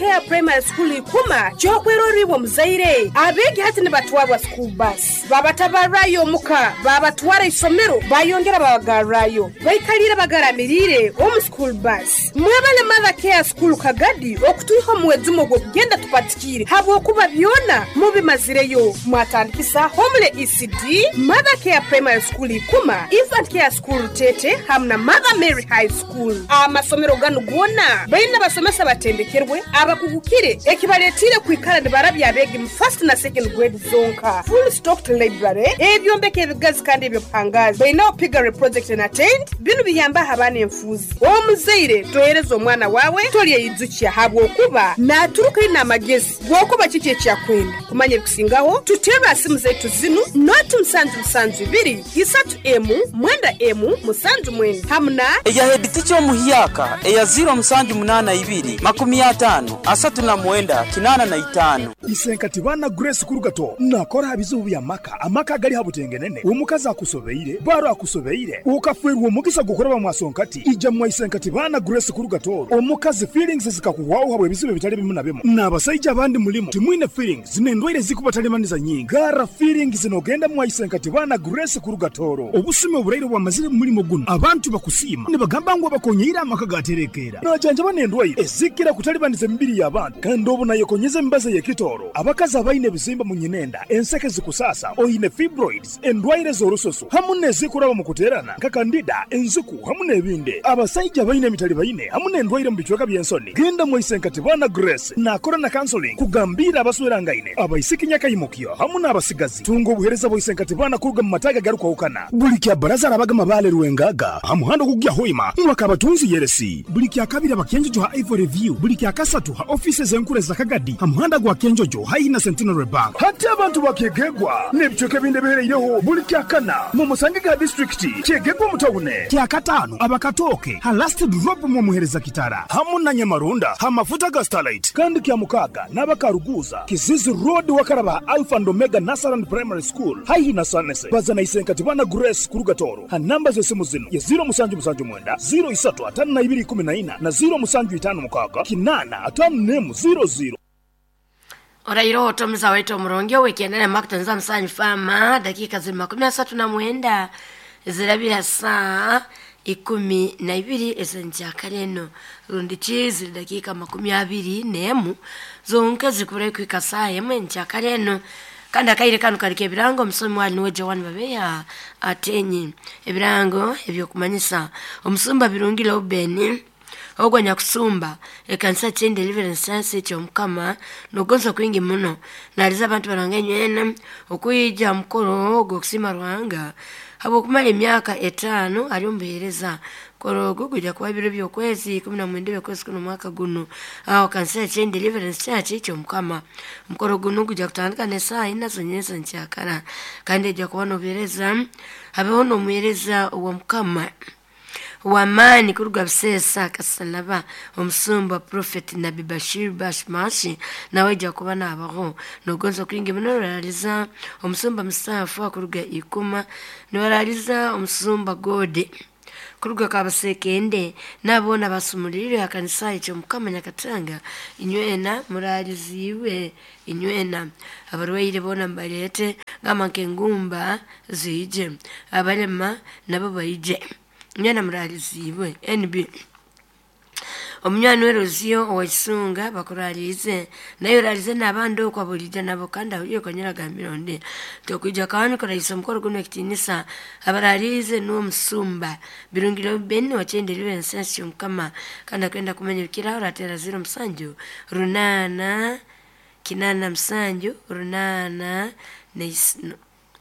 Care Primary School Ikuma ky'okwerorra iwe omuzaire. Abeegi hati nibatwarwa school bus, babatabarrayo omuka, babatwara isomero, bayongera babagarrayo. Baikaliire bagaramiriire omu school bus. Mwebale Mother Care School Kagadi okutwiha omu mwejumo ogw'okugenda tupatikiire habwokuba byona mubimazireyo. Mwatandikisa Homely ECD, Mother Care Primary School Ikuma, Infant Care School Rutete hamu na Mother Mary High School. Amasomero ganu goona baine abasomesa abatendekerwe, abakugukire ekibaletiire kwikara nibarabya abeegi mu first na second grade zonka. Full stocked library, ebyombeko ebigazi kandi eby'obuhangaazi. Baineho piggery project na tent, binu biyambaho abaana enfuuzi. Omuzaire tohereza omwana waawe tolyeyijukya habwokuba naaturuka aine amagezi g'okuba kiki eki akwenda. Kumanya ebikusingaho, tuterre ha simu zaitu zinu, noti musanju musanju ibiri, isatu emu, mwenda emu, musanju mwenda hamu na. Eya heeditica omuhyaka eya ziiro musanju munaana ibiri, makumi ataano, asatu na mwenda, kinaana na itaano. Isenkati baana Grace Kurugato nakora ha bizibu by'amaka, amaka agali ha butengenene, omukazi akusobeire, baro akusobeire, okafwerwa omugisa gw'okuraba mwasonkati, ija mwa Isenkati baana Grace Kurugato, omukazi feelings zikakuhwaho habw'ebizibu ebitali bimu na bimu, n'abasaija abandi mulimu timwine feelings n'endwaire ezikubatalibaniza nyingi, garra feelings n'ogenda mwa Isenkati baana Grace Kurugatoro. Obusumi oburaire obwamazire mu mulimo gunu, abantu bakusiima nibagamba ngu abakonyeire amaka gaterekeera. Najanjaba n'endwaire ezikira kutalibaniza emibiri y'abantu kandi obu nayekonyeza emibazi ey'ekitooro, abakazi abaine ebizimba mu nyinenda, enseke zikusaasa, oine fibroids, endwaire z'orususu hamu n'ezikuraba mu kuteerana nka kandida, enziku hamu n'ebindi. Abasaija abaine emitalibaine hamu n'endwaire mu bicweka by'ensoni, genda mwaise Nkatibana Grace naakora na counseling kugambiira abaswerangaine, abaisiki nyakaimukyo hamu n'abasigazi. Tunga obuheereza bwa Isenkatibana kuruga mu mataagi agarukwahukana. Buli kya Baraza arabaga Mabaale Rwengaga ha muhanda ogukugya Hoima mwaka Abatunzi Yeresi. Buli kya Kabiri aba Kyenjojo ha Ivory View. Buli kya Kasatu ha ofiisi ez'enkuru eza Kagadi ha muhanda gwa Kyenjojo haihi na Centenary Bank. Hati abantu ba Kyegegwa n'ebicweka ebindi ebihereireho buli kya Kana mumusangege ha disiturikiti Kyegegwa omu tawune. Kya Kataano aba Katooke ha Last Drop mwomuhereza Kitara hamu na Nyamarunda ha mafuta ga Starlight. Kandi kya Mukaaga n'aba Karuguuza, Kizizi Road wakaraba ha Alpha and Omega Nursery and Primary School haihi na Sanese. Baza na Isenkatibana Grace kuruga Tooro ha namba z'esimu zinu ye ziiro musanju musanju mwenda, ziiro isatu ataano na ibiri ikumi na ina na ziiro musanju itaano mukaaga kinaana ataano n'emu ziiro ziiro. Oraire otomuza waitu omurungi ow'ekyendera Makutonza Musanyu Farmer, dakika ziri 39 zirabira saa 12 ez'enkyakara eno rundi ki ziri dakiika 21 zonka zikuburayo kuhika saaha emwe enkyakara eno. Kandi akaire kanu kali k'ebirango omusomi wali nuwe Joan Babeya Atenyi. Ebirango eby'okumanyisa omusumba Birungi Reuben ogwo anyakusumba ekanisa Chain Deliverance Church eky'Omukama n'okugonza kwingi muno naaliza abantu baranga enywena okwija ha mukoro ogw'okusiima Ruhanga habw'okumara emyaka etaano ali omu buheereza. Mukoro ogu gwija kuba biro by'okwezi 19 by'okwezi kuno omwaka gunu aho kanisa ya Chain Deliverance Church eky'Omukama. Omukoro gunu gwija kutandika n'esaaha ina z'onyensa nkyakara kandi ejja kuba n'obuheereza habeho n'omuheereza ow'Omukama w'amaani kuruga Buseesa Kasalaba omusumba Prophet Nabi Bashir Bashmashi nawe aija kuba naabaho. Nogonza kwingi muno nibaraaliza omusumba Musaafu kuruga Ikuma, nibaraaliza omusumba Gode kuruga Kabasekende, n'abo boona abasumuliirwe ha kanisa eky'Omukama Nyakatanga, inywena muraaliziibwe inywena. Abarwaire boona mubaleete, gamba nk'engumba ziije, abalema nabo baije. Inywena muraaliziibwe. NB. Omunywani we Rosio owa Kisunga bakuraaliize, naye oraalize n'abandi oku aboliija nabo kandi ahuriire konyera agambire ondi nti okwija kwawe nikuraihisa omukoro gunu ekitiinisa. Abaraaliize nuwe omusumba Birungi Reuben owa Chain Deliverance Church Kyomukama kandi akwenda kumanya ebikiraho orateera 0 musanju runaana kinaana musanju runaana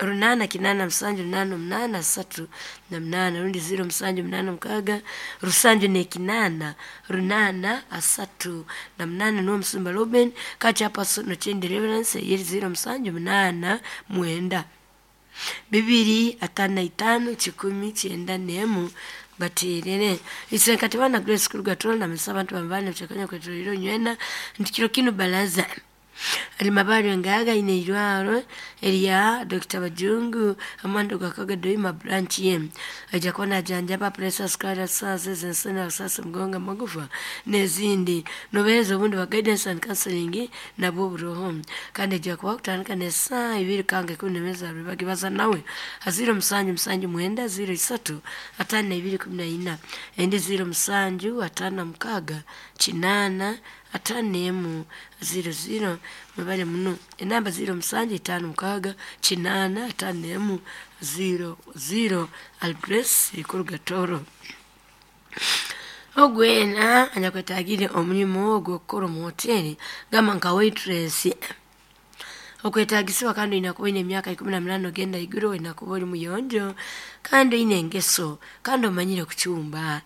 runaana kinaana musanju runaana omunaana asatu na munaana rundi ziiro musanju munaana mukaaga rusanju n'ekinaana runaana asatu na munaana nuwe omusumba Reuben Kachapaso no Chain Deliverance eyeri ziiro musanju munaana mwenda bibiri ataano na itaano kikumi kyenda n'emu bateerere Isenkati baana Grace kuruga Tooro namanyisa abantu bamubane bukyakanya kwetoroire onywena nti kiro kinu baraza. Alimabari ngaga ine irwaro erya Dr. Bajungu amando gakaga doima branch ye aja kuba najanjaba pressure, sukari, sasa zensena, sasa mgonga, magufa n'ezindi. Nobereza obundi ba guidance and counseling nabwo buroho, kandi aja kuba kutandika n'esaa 2 kanga 12 bagibaza nawe 07 7 9 03 52 14 endi 07 5 6 8 5 00. Mwebale muno. Enamba 07 5 6 8 5 00. Algrace Ikurugatoro ogwena anyakwetagire omulimu ogw'okukora omu hoteri gamba nka waitress okwetagisibwa, kandi oyina kuba oyina emyaka 18 ogenda iguru, oyina kuba oli muyonjo, kandi oyina engeso, kandi omanyire kucumba.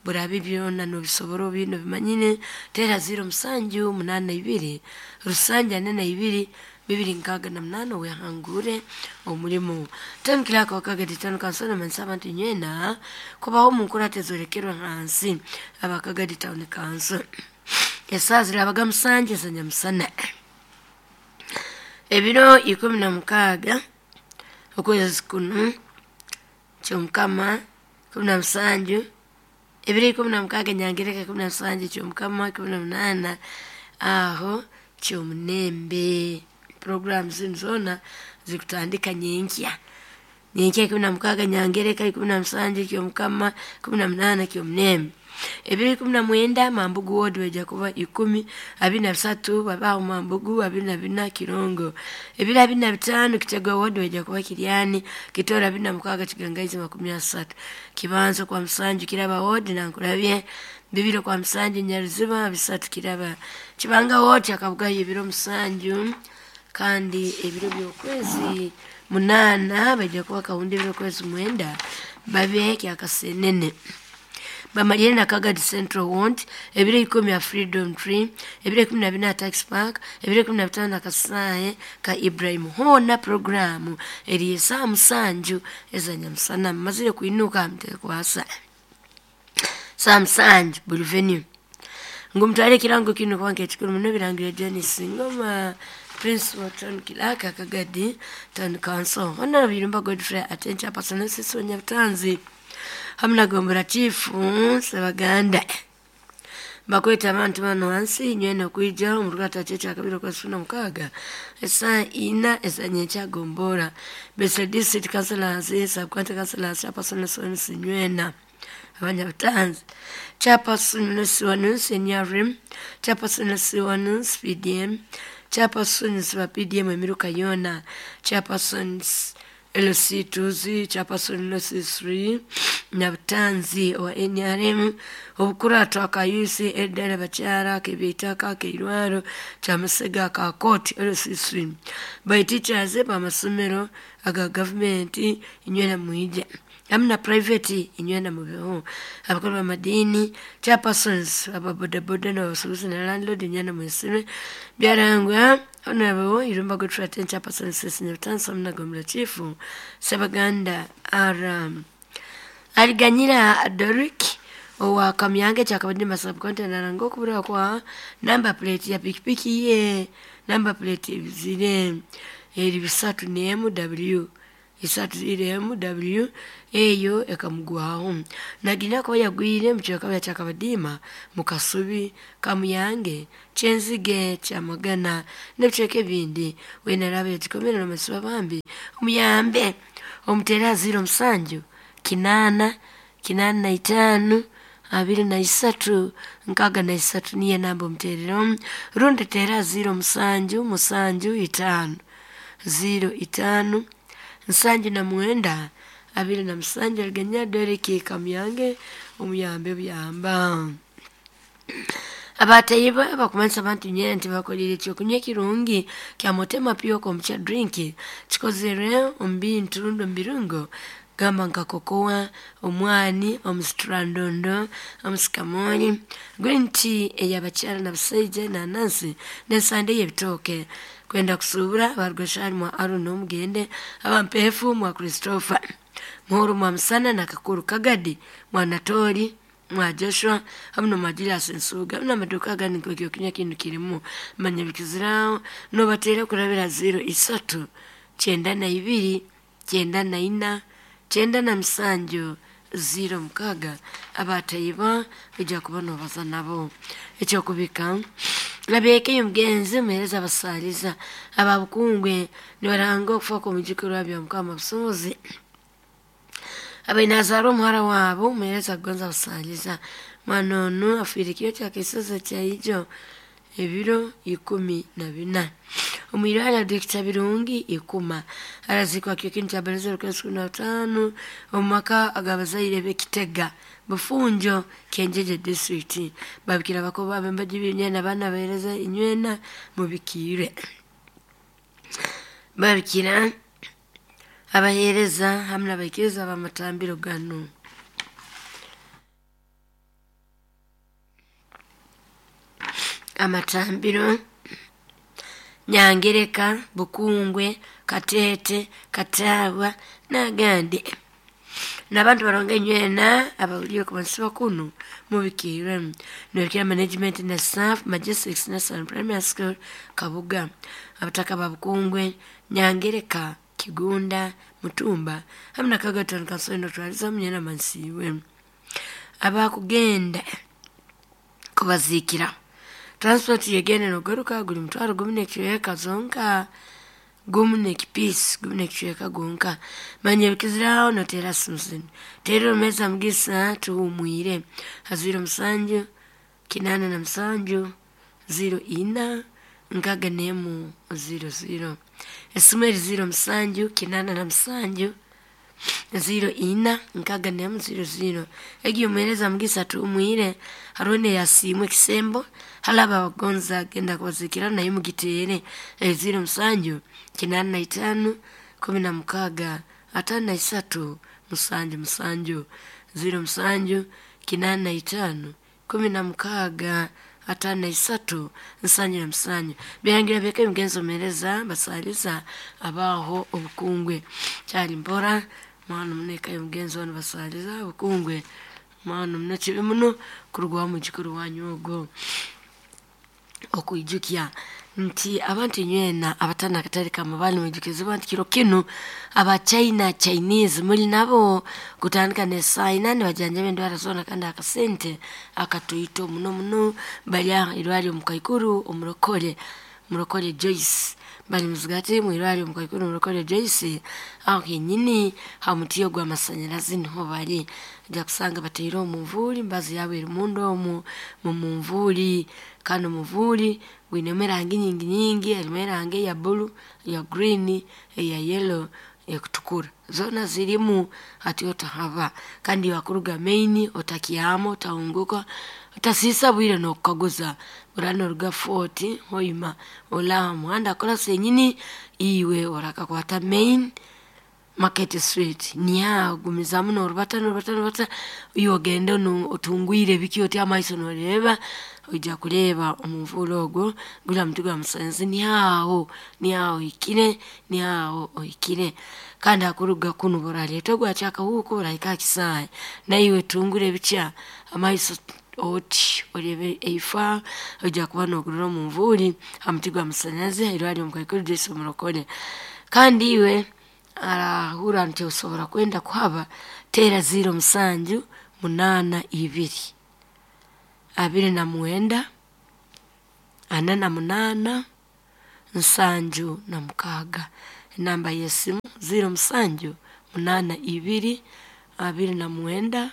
Burabe byona nobisobora, obino bimanyine. Tera 07 82 742 268 wehangure omulimu. Tandikirako Kagadi Town Council namanisa abantu nywena kubaho omu nkurata ezorekerwe hansi. Abakagadi Town Council, esaa zirabaga 7 ezanyamusana, ebiro 16 okwezi kuno kyomukama 17, ebiro 16 nyangereka 17 kyomukama 18 aho kyomunembe. Programu zinu zona zikutandika nyenkya 16 nyangereka 17 kyomukama 18 kyomunembe. Ebiro 19 Mambugu ward weja kuba 10 23 babaho Mambugu 24 Kirongo. Ebiro 25 Kitego ward weja kuba Kiryani Kitora 26 Kigangaizi 30 Kibanzo kwa Msanju Kiraba ward na Nkurabye 2 kwa Msanju Nyaruziba 3 Kiraba Kibanga ward akabugayo ebiro 7, kandi ebiro by'okwezi 8 bajja kuba Kawundi, ebiro kwezi 9 babe Kyakasenene. Bamalire na Kagadi Central Ward ebiro 10 ya Freedom Tree, ebiro 14 Tax Park, ebiro 15 na Kasaye ka Ibrahim. Hona programu eri saa 7 ezanyamusana mazire kuinuka mtekwasa saa 7 buli venue. Ngumutwale kirango kino kwanke ekikulu muno birangire Jonis Ngoma, Principal Town Kilaka Kagadi Town Council. Honorable Birumba Godfrey Atencha Personal Sisi Nyabutanzi hamna gombora chifu Sebaganda bakweta abantu bano hansi nywena kwija omurugata checha kabiro kwa 16 esa ina esa gombora Bese District Councilors, Sub County Councilors, Chairperson Sonsi nywena abanyabutanzi, Chairperson Siwanus NRM, Chairperson Siwanus PDM, Chairpersons ba PDM emiruka yona, Chairpersons LC2, Chairperson LC3 Nyabutanzi wa NRM, obukurata ka UC edere bakyara kebitaka keirwaro kyamusega ka court LC3 by teachers bamasomero aga government inywena muija amna private inywena mubeho, abakuru b'amadini, chairpersons ababodaboda n'abasuubuzi na landlord inywena mwisime. Byarangwa Honorable Irumba Godfrey Aten, Chairperson Sisi Nyabutanzi hamna Gombora Chifu Sebaganda. Aliganyira Dorik owa Kamyange kyakabadde masabkonte naranga okubura kwa number plate ya pikipiki ye. Number plate zire eri 3 MW 3 MW eyo ekamugwaho nagina ko yagwire mu kyakabadima mu Kasubi Kamuyange kyenzige kyamagana n'ebicweka ebindi. Wenarabe yagikomera n'amasiba bambi omuyambe omutera 07 8 85 23 63 niye namba omuterero rundi tera 07 7 5 05 79 27. Aliganya Deriki Kamyange omuyambe buyamba. Abatayiba bakumanisa abantu nyene nti bakolire ekyokunywa ekirungi kya motema pure komukya drink kikozerwe omu bintu rundi omu birungo gamba nka kokoa, omwani, omusitrandondo, omusikamoni, green tea ey'abakyara n'abasaija, nanansi n'ensande y'ebitooke. Kwenda kusuubura abarugashari mwa Aaron omugende, abampeefu mwa Christopher Muhuru mwa Musana na Kakuru Kagadi mwa Natori. Mwa Joshua hamu nomwa Julius Nsubuga, hamu n'amaduka agandi nk'ekyokunywa kinu kirimu. Manya bikiziraho nobateera kurabira 03 92 94 97 06 abataiba ojja kuba nobaza nabo. Ekyokubika abeeka omugenzi muheereza abasaaliza ababukungwe nibaranga okufa kw'omujukuru wa Byamukama Busobozi abaine azaarwa omuhara waabo muheereza kugonza abasaaliza. Mwana onu afiire kiro kya kisozi kyaijo ebiro 14 omwirwariro Dr. Birungi Ikuma. Araziikwa kiro kinu kya baraza 2015 omu maka ag'abazaire b'Ekitega, Bufunjo, Kyenjeje district. Babikira bakoba ab'embaji ibiri n'abaana baheereza inywena mubikiire. Babikira abaheereza hamu n'abaikiriza b'amatambiro ganu. Amatambiro Nyangereka, Bukungwe, Kateete, Kataabwa n'agandi. N'abantu baronga inywena abahuriire kubansiba kunu mubikiirwe. Nibabikira management na staff Majestics National Primary School Kabuga. Abataka ba Bukungwe, Nyangereka, Kigunda, Mutumba hamu na Kagaton Kansoni notwaliza munywena mansiibwe. Abakugenda kubaziikira transport yegenda nogaruka guli mutwaro gumu n'ekicweka zonka, gumu n'ekipiisi gumu n'ekicweka gwonka. Manya ebikiziraho noteera simu zinu: teera omumeeza Mugisa Tuhumwire ha 07 87 04 61 00. Esimu eri 07 87 04 61 00. Egi omuheereza Mugisa Tuhumwire hariho n'eyasiimwe ekisembo hali abo abakugonza kugenda kubaziikira nayo mugiteere 07 85 16 53 77 07 85 16 53 77. Birangira byeka emigenzo omuheereza basaaliza abaho obukungwe. Kyali mpora mwana muno eka y'omugenzi onu basaaliza obukungwe, mwana muno kibi muno kurugwaho omwijukuru wanyu ogwo. Okwijukya nti abantu inywena abatana akatale k'amabaale nimwijukizibwa nti kiro kinu aba China Chinese muli nabo kutandika n'esaaha ina nibajanjaba endwara zoona kandi akasente akatoito muno muno. Bari aha irwariro omukaikuru omurokore, Murokore Joyce. Bari muzigati mwirwariro omukaikuru Murokore Joyce aho kenyini ha mutiyo gw'amasanyarazi niho bari. Ojja kusanga bataire omunvuuri, embazi yaabo eri munda omu mumunvuuri kandi omuvuuri gwinemu erangi nyingi nyingi, harimu erangi eya buru, eya green, eya yellow, ekutukura zoona zirimu hati otahaba. Kandi iwe akuruga main otakyama, otahunguka, otasiisa bwire n'okukaguza. Oraba noruga Fort Hoima ori aha muhanda kurasa enyini iwe orakakwata main Market Street niho aho ogumizaamu norubata norubata norubata iwe ogende otungwire biki oti amaiso noreeba oija kureeba omunvuuri ogwo guri aha muti gw'amasanyarazi niho aho, niho aho ohikire, niho aho ohikire. Kandi hakuruga kunu burareeta ogwa Kyakahuuku burahika aha kisaayi, naiwe tungura ebikya amaiso oti oreebe eifa oija kuba nogurora omunvuuri ha muti gw'amasanyarazi ha irwariro omukaikuru Joyce Omurokore. Kandi iwe arahurra nti osobora kwenda kuhaba, teera 07 82 29 48 76. Enamba y'esimu 07 82 29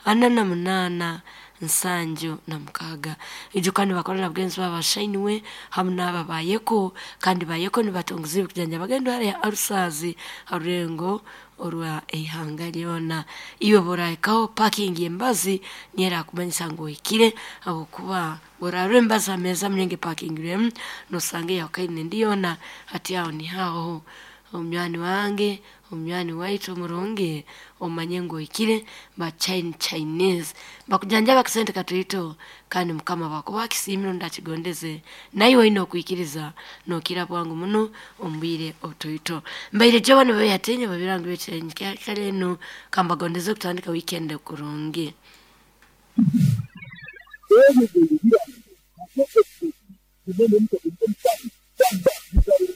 48 76. Ijuka nibakora na bagenzi baabo abashainiwe hamu n'abo abayeko, kandi bayeko nibatungiza ebikujanjaba endwara ya ulcers ha rurengo orwa eihanga ryona. Iwe bw'orahikaho parking y'embazi niyo erakumanyisa ngu ohikire habwokuba bw'orarora embazi ha meeza muno epakingirwemu nosanga eyahukane endi yoona hati aho niho aho omunywani wange, omunywani waitu omurungi omanye ngu ohikire ba Chinese bakujanjaba akasente katoito kandi Mukama bwakuba akisiimire rundi akigondeze naiwe oine okwikiriza nookira bwangu muno omu bwire obutoito. Mbaire Joan Beyatinya babirango b'ekirenge kya kare enu kambagondeze kutandika weekend kurungi.